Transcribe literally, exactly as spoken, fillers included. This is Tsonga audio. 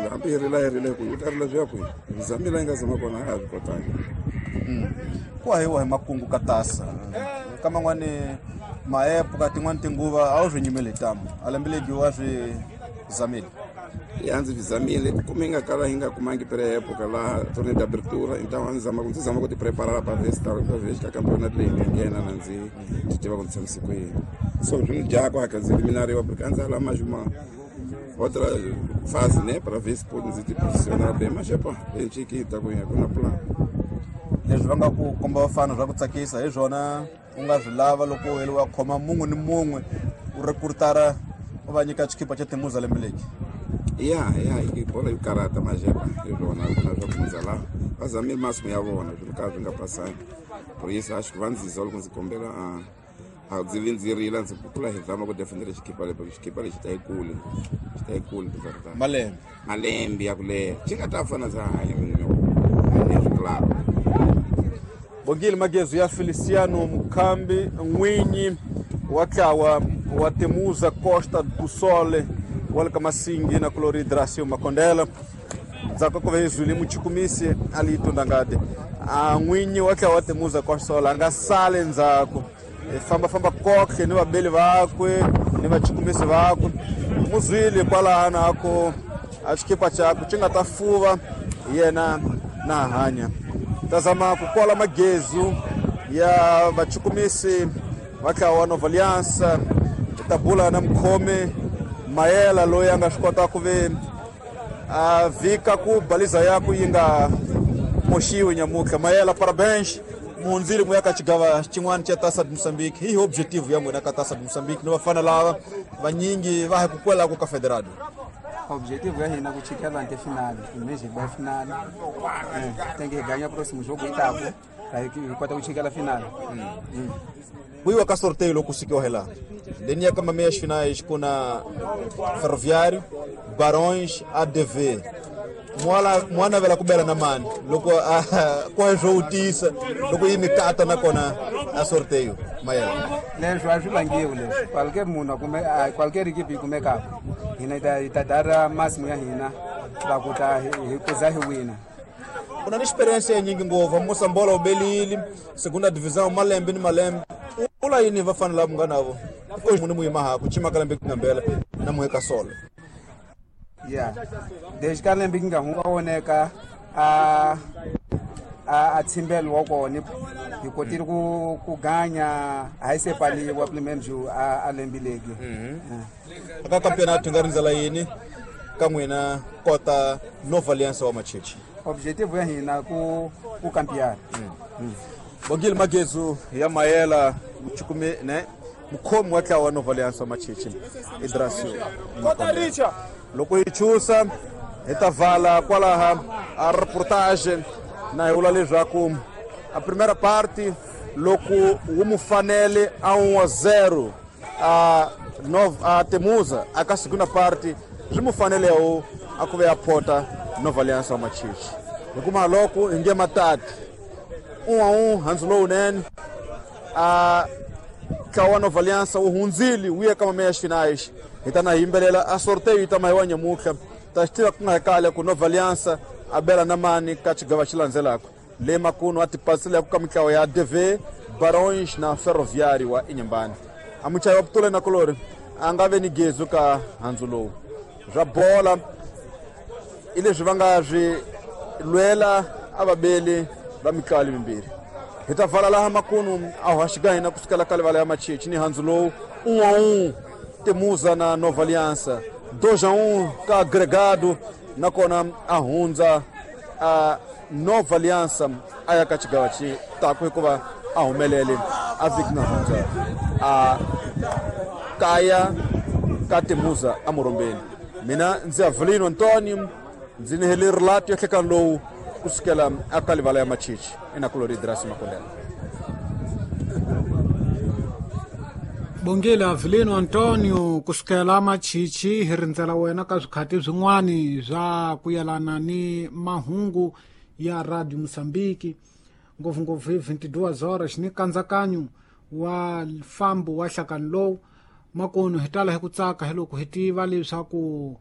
Hambi hi rila hi rile ku u ta rila swi ya kwihi? Hi zamile hi nga zama kona a ha swi kotangi. Ku hahiwa hi makungu ka tasa ka man'wani maepu ka tin'wani tinguva a wu swi nyimeli hi tamu a lembe legi wa swi zamile. Ya ndzi swi zamile kume hi nga kala hi nga kumangi preepoka laha torneo d'abertura então a ndzi zama ku ndzi zama ku ti preparar pa ver se ta pa ver ka campeonato leyi nga nghena na ndzi ti tiva ku ndzi tshamise ku yini. So swi ni dya ku hakha ndzi eliminariwa porque a ndzi ala mais uma outra fase, né, para ver se pode ndzi ti posicionar bem, mas epa, hi ta ku ku na plan. Leswi va nga ku komba vafana swa ku tsakisa hi swona u nga swi lava loko u heliwa khoma mun'we ni mun'we u rekrutara u va nyika xikipa xa Temuza lembe leki. Ya ya i bola yo karata mas epa, hi swona ku na swa ku hundza laha va zamile masimu ya vona swilo ka swi nga pasangi. Por isso acho que va ndziza loko ndzi kombela a a ndzi vi ndzi rila ndzi kula hi zama ku defendela xikipa lexi xikipa lexi ta yi kule xi ta yi kule de verdade. Malembe malembe ya ku leha xi nga ta fana ndza hanya leswi club. Bongile Magezu ya Feliciano Mukhambi n'winyi wa ntlawa wa Temuza Costa do Sol wa le ka Masingi na kulori Dracio Makondela ndzhaku ka ku va hi zwile muchukumisi a li tundangade a n'winyi wa ntlawa wa Temuza Costa Sol a nga sali ndzhaku hi fambafamba kohle ni vabeli vakwe ni vachukumisi vakwe muzwile kwalano ako a xikipa xakwe xi nga ta fuva yena na hanya. Ta zama ku kola magezu ya vachukumisi va ntlawa wa Nova Aliança hi ta bula na mukhomi Mayela loyi a nga swi kota ku ve a vhika ku baliza yaku yi nga moxiwi nyamutlha. Mayela, parabéns, muhundzile mu ya ka xigava xin'wana xa Taça de Moçambique. Hi objective ya n'wina ka Taça de Moçambique ni vafana lava vanyingi va hi ku kwelaka ka Federado? Objetivo ya hina ku chikela ante finale, image hi ba finale. Eh, tem que ganhar próximo jogo itaku, aí hi kota ku chikela finale. Ku yiwa ka sorteio loko sikiwa hi laha leni ya ka meias finais ku na Ferroviário, Barões, A D V. Mwala mwana vela ku bela na mani loko ku hi swo tisa loko yi mikata nakona a sorteio Mayela. Leswi a swi vangiwi leswi qualquer munhu kumbe qualquer equipe yi kumekaka hina hi ta hi ta dara masimu ya hina va ku ta hi kuza hi wina. U na ni experience ya nyingi ngopfu Mosambola u belile segunda divisão malembe ni malembe u la yini vafana lava nga navo ko munhu muyima ha ku chima ka lembe ngambela na muheka solo. Yeah, desde ka lembe nga hunga woneka a a a tsimbelo wa kona hi kotile ku ku ganya a hi sepaliwa pelo menos a a lembe legi. Aka campeonato nga rindzela yini ka n'wina kota Nova Aliança wa Machichi? Objetivo ya hina ku ku campear. Bongile Magezu ya Mayela muchukumi ne mukhomi wa ntlawa wa Nova Aliança wa Machichi Idrasio Makondela. Loko hi chusa hi ta vala kwalaha a reportage na hi vula leswaku a primeira parte loko wu mu fanele a um a zero a Nova a Temuza a ka segunda parte swi mu fanele wu a ku ve a phota Nova Aliança wa Machichi. Hi kuma loko hi nge matati um a um handzu lowunene a ntlawa wa Nova Aliança wu hundzile wu ya ka meias finais. Hi ta na yimbelela a sorteio yi ta mahiwa nyamutlha ta xi tiva ku nga hi kale ku Nova Aliança a bela na mani ka xigava xi landzelaka le makunu a tipasile ku ka mitlawa ya A D V, Barões na Ferroviário wa Inhambane. A muchayi wa Putule na Kolori a nga ve ni gezu ka handzu lowu swa bola i leswi va nga swi lwela a vabeli va mitlawa lemimbirhi. Hi ta vala laha makunu a hoxika hina kusukela ka livala ya Machichi ni handzu lowu um a um Temuza na Nova Aliança, dois a um ka agregado nakona a hundza a Nova Aliança a ya ka xigava xi taku hikuva a humelele a vhiki nga hundza a kaya ka Temuza a Morombeni. Mina ndzi Avelino Antonio ndzi ni hele relato ya nhlekani lowu kusukela aka livala ya Machichi enakulori Idrasi Makondela. Bongile Avelino Antonio kusukela Machichi hi rindzela wena ka swikhati swin'wani swa ku yelana ni mahungu ya Radio Mozambique ngopfungopfu hi vinte e duas horas ni nkatsakanyo wa mfambo wa nhlakani lowu makunu hi tala hi ku tsaka hi loko hi tiva leswaku